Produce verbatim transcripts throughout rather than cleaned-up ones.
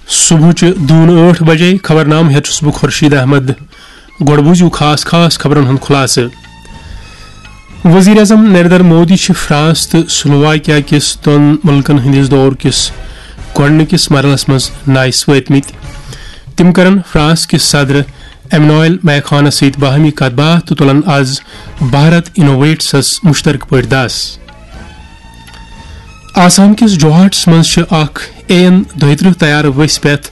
صبحٕچہِ دوٗنہٕ ٲٹھ بجے۔ خبرنامہٕ ہیٚتھ چھُس بہٕ خورشید احمد۔ گۄڈٕ بوٗزِو خاص خاص خبرن ہُنٛد خُلاصہٕ۔ وزیر اعظم نریندر مودی چھِ فرانس تہٕ سلوواکیا کِس دۄن مُلکن ہٕنٛدِس دورٕ کِس گۄڈٕنِکِس مرحلس منٛز نایہِ وٲتمٕتۍ۔ تِم کرن فرانس کِس صدر ایمنوئل میخانس سۭتۍ باہمی کتھ باتھ تہٕ تُلن از بھارت انوویٹسس مشترکہٕ پٲٹھۍ دس۔ آسام کِس جوہاٹس منٛز چھِ اکھ اے این دۄیہِ ترٕٛہ طیارٕ ؤسۍ پٮ۪تھ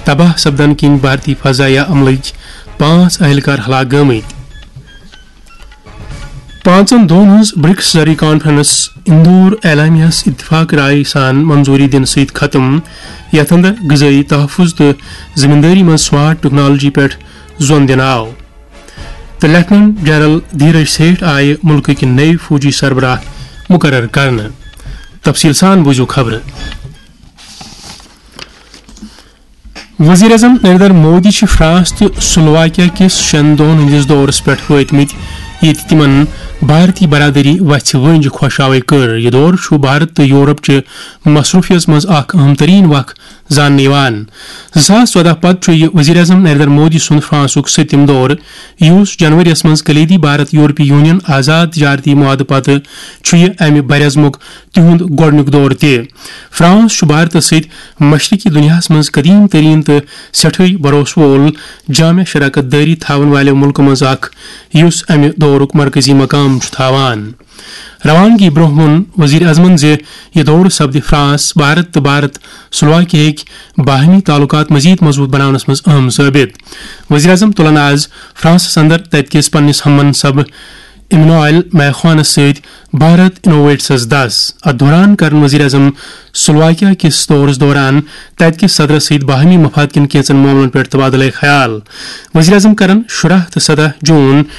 تباہ سپدن کِنۍ بھارتی فضائیہ عملٕکۍ پانٛژھ اہلکار ہلاک گٔمٕتۍ۔ پانٛژن دۄہن ہٕنٛز برکس زرعی کانفرنس اندور اعلامیہس اتفاق رائے سان منظوری دِنہٕ سۭتۍ ختم، یتھ اندر غذٲیی تحفظ تہٕ زمیندٲری منٛز سمارٹ ٹیکنالوجی پٮ۪ٹھ زون دِنہٕ آو۔ تہٕ لیفٹیننٹ جنرل دھیرج سیٹھ آیہِ مُلکٕکۍ نٔوۍ فوجی سربراہ مُقرر کرنہٕ۔ تفصیٖل سان بوٗزِو خبرٕ۔ وزیر اعظم نریندر مودی چھِ فرانس تہٕ سلوواکیا کِس شٮ۪ن دۄہن ہٕنٛدِس دورس پٮ۪ٹھ وٲتمٕتۍ، ییٚتہِ تِمن بھارتی برادری وژھِ ؤنٛجہِ خۄشاوٕے کٔر۔ یہِ دورٕ چھُ بھارت تہٕ یورپ چہِ مصروفیت منٛز اکھ اہم ترین وق زاننہٕ یِوان۔ زٕ ساس ژۄداہ پتہٕ چھُ یہِ وزیر اعظم نریندر مودی سُنٛد فرانسُک سٔتِم دورٕ، یُس جنوریَس منٛز کلیدی بھارت یورپی یونین آزاد تجارتی معاہدٕ پتہٕ چھُ یہِ امہِ براعظمُک تِہُنٛد گۄڈٕنیُک دورٕ تہِ۔ فرانس چھُ بھارتس سۭتۍ مشرقی دُنیاہَس منٛز قدیم ترین تہٕ سٮ۪ٹھٕے بھروسہٕ وول جامع شراکت دٲری تھاون والٮ۪و مُلکو منٛز اکھ، یُس امہِ دورُک مرکزی مقام چھُ تھاوان۔ روانگی برونٛہہ ووٚن وزیر اعظمن زِ یہِ دورٕ سپدِ فرانس، بھارت تہٕ بھارت سلوواکیاہٕکۍ باہمی تعلقات مزید مضبوط بناونس منٛز اہم ثٲبت۔ وزیر اعظم تُلن آز فرانسس اندر تتہِ کِس پننِس ہم منصب ایمنوئل میخوانس سۭتۍ بھارت انوویٹسس دس۔ اتھ دوران کرن وزیر اعظم سلوواکیا کِس دورس دوران تتہِ کِس صدرس سۭتۍ باہمی مفاد کٮ۪ن کینٛژن معاملن پٮ۪ٹھ تبادلہ خیال۔ وزیر اعظم کرن شُراہ تہٕ سداہ جون